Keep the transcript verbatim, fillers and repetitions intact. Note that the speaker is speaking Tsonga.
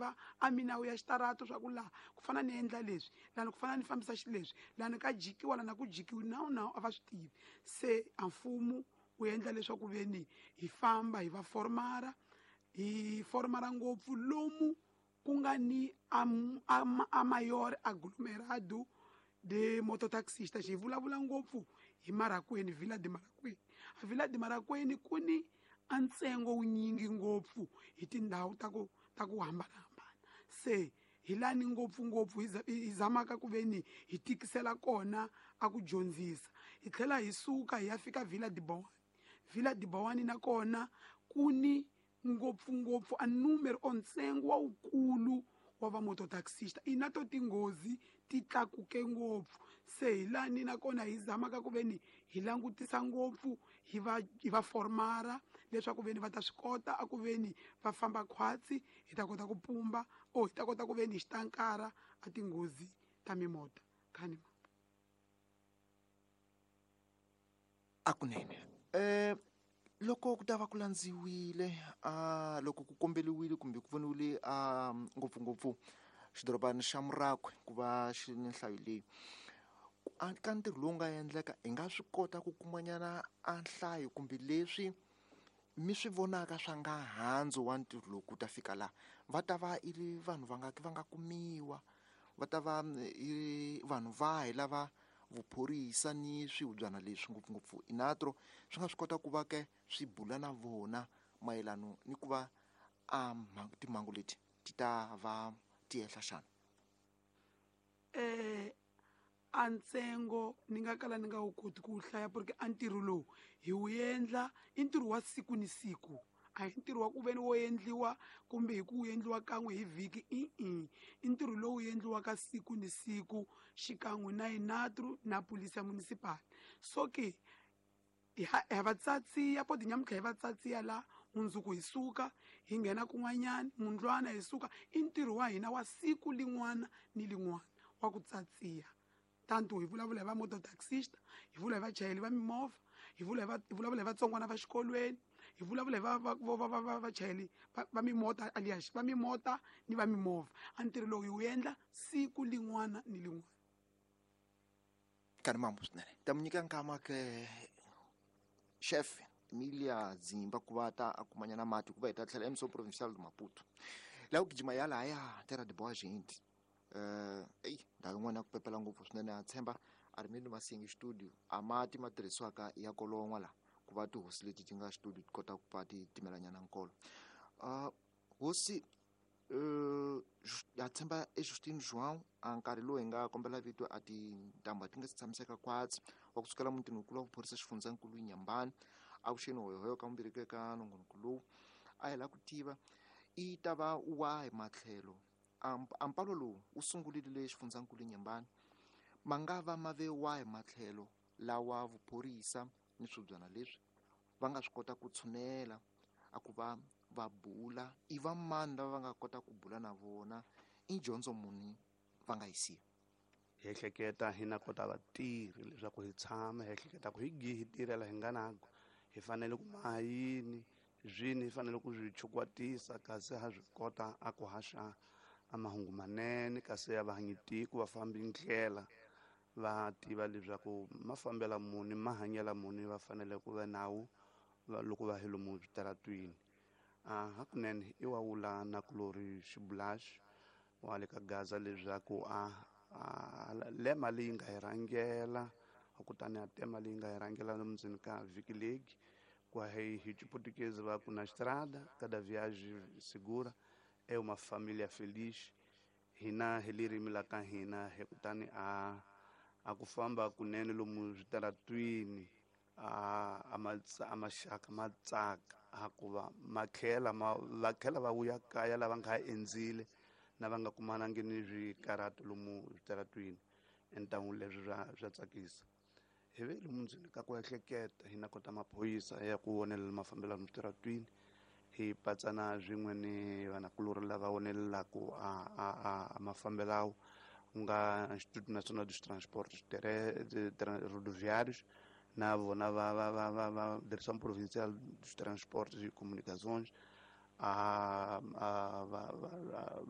tiva a minawu ya xitarato swa ku laha ku fana ni endla leswi, lani ku fana ni fambisa xileswi, lani ka jikiwa lana ku jikiwi, nawu nawu a va swi tivi. Se a mfumo wu endla leswaku veni hi famba hi va formara, hi formara ngopfu lomu ku nga ni a m-, a ma-, a mayor aglomerado de mototaxista. Xi vulavula ngopfu hi Marracuene, Vila de Marracuene. A Vila de Marracuene ku ni a ntsengo wunyingi ngopfu hi tindhawu ta ku, ta ku hambanahambana. Se hi lani ngopfungopfu hi za-, hi zamaka ku veni hi tikisela kona a ku dyondzisa. Hi tlhela hi suka hi ya fika Vila de Boane. Vila de Boane nakona ku ni ngopfungopfu a numero o ntsengo wa wukulu wa va mototaxista. Ina to tinghozi ti tlakuke ngopfu. Se hi lani nakona hi zamaka ku veni hi langutisa ngopfu, hi va, hi va formara leswaku veni va ta swi kota a ku veni va famba khwatsi, hi ta kota ku pumba o hi ta kota ku veni hi xitankara a tinghozi ta mimota. Khani ma. A kunene. Eh, loko ku ta va ku landziwile, a loko ku kombeliwile kumbe ku voniwile, a ngopfungopfu xidorobana xa Murakhwe ku va xi ni nhlayo leyi, a ka ntirho lowu nga endleka hi nga swi kota ku kumanyana a nhlayo kumbe leswi mi swi vonaka swa nga handzu wa ntirho lowu ku ta fika laha, va ta va i ri vanhu va nga va nga kumiwa, va ta va i vanhu vahi lava vuphorisa ni swihubyana leswi ngopfungopfu Inatro swi nga swi kota ku va ke swi bula na vona mayelano ni ku va a mhangu, timhangu leti ti ta va ti ehla xana? Eh, a ntsengo ni nga kala ni nga wu koti ku wu hlaya porque a ntirho lowu hi wu endla i ntirho wa siku ni siku, a hi ntirho wa ku veni wo endliwa kumbe hi ku wu endliwa kan'we hi vhiki, i-i. I ntirho lowu endliwaka siku ni siku xikan'we na Inatro na Polisi ya Municipal. So ke hi ha, ha va tsatsiya poti nyamuntlha hi va tsatsiya la mundzuku hi suka hi nghena kun'wanyana mundlwana hi suka. I ntirho wa hina wa siku lin'wana ni lin'wana wa ku tsatsiya. Tanto hi vulavula hi va mototaxista, hi vula hi vachayeri va mimovha, hi vula hi va, hi vulavula hi vatsongwana va xikolweni, hi vulavula hi va, va, va, va, va, va, vachayeri va, va mimota, alias va mimota ni va mimovha. A ntirho lowu hi wu endla siku lin'wana ni lin'wana. Ka ri mambo swinene. Ta mi nyika nkama ke chef Emilia Dzimba ku va ta a kumanyana mati ku va hi ta tlhela M C O Provincial de Maputo. Laha ku gijima ya lahaya Terra de Boa Gente. Eh, eyi, ndhawu yin'wana ya ku pepela ngopfu swinene, ha tshemba a ri mi ni masingi studio a mati ma tirhisiwaka ya kolon'wa laha ku va tihosi leti ti nga studio ti kota ku va ti timelanyana nkolo. Ah, hosi, eh, ha tshemba e Justino João a nkarhi lowu hi nga kombela vito a tintambu a ti nga si tshamiseka khwatsi wa kusukela mutini wukulu wa vuphorisa xifundzankulu Inhambane avuxeni hoyohoyo ka mumbirhi eka nongonoko lowu a hi lava ku tiva i ta va wahi matlhelo Amp-, ampalo lowu wu sungurile le xifundzankulu Inhambane ma nga va ma ve wahi matlhelo lawa vuphorisa ni swibyana leswi va nga swi kota ku tshunela a ku va va bula i va mani lava va nga kota ku bula na vona i dyondzo muni va nga yi siya? Hi ehleketa hi na kota vatirhi leswaku hi tshama hi ehleketa ku hi gihi hi tirhela hi nga nako hi fanele ku maha yini swini hi fanele ku swi chukwatisa kasi ha swi kota a ku haxa a mahungu manene kasi ya vahanyi tiko va fambi ndlela va tiva leswaku ma fambela muni ma hanyela muni va fanele ku va nawu va loko va hi lomu switaratwini. A hakunene i wa wula na kulori xibulaxi wa le ka Gaza leswaku a, a lema leyi nga hi rhangela kutani a tema leyi nga hi rhangela lomu ndzeni ka vhiki legi kwa hi hi Chiportuguese va ku na estrada cada viagem segura é uma família feliz. Hina hi ririmi la ka hina hi kutani a a ku famba kunene lomu switaratwini a, a matsa, a maxaka ma tsaka a ku va ma tlhela ma, va tlhela va vuya kaya lava nga endzile na va nga kumanangi ni swikarhato lomu switaratwini. Entangu leswi swa, swa tsakisa. Hi ve lomu ndzeni ka ku ehleketa hi na kota maphorisa ya ku vonelela mafambelano switaratwini hi patsana swin'we ni vanakulorhi lava vonelelaka a, a, a, a mafambelawo ku nga Instituto Nacional dos Transportes Terrestres, Rodoviários na vona va, va, va, va, va Direção Provincial dos Transportes e Comunicações, a, a, va, va, va,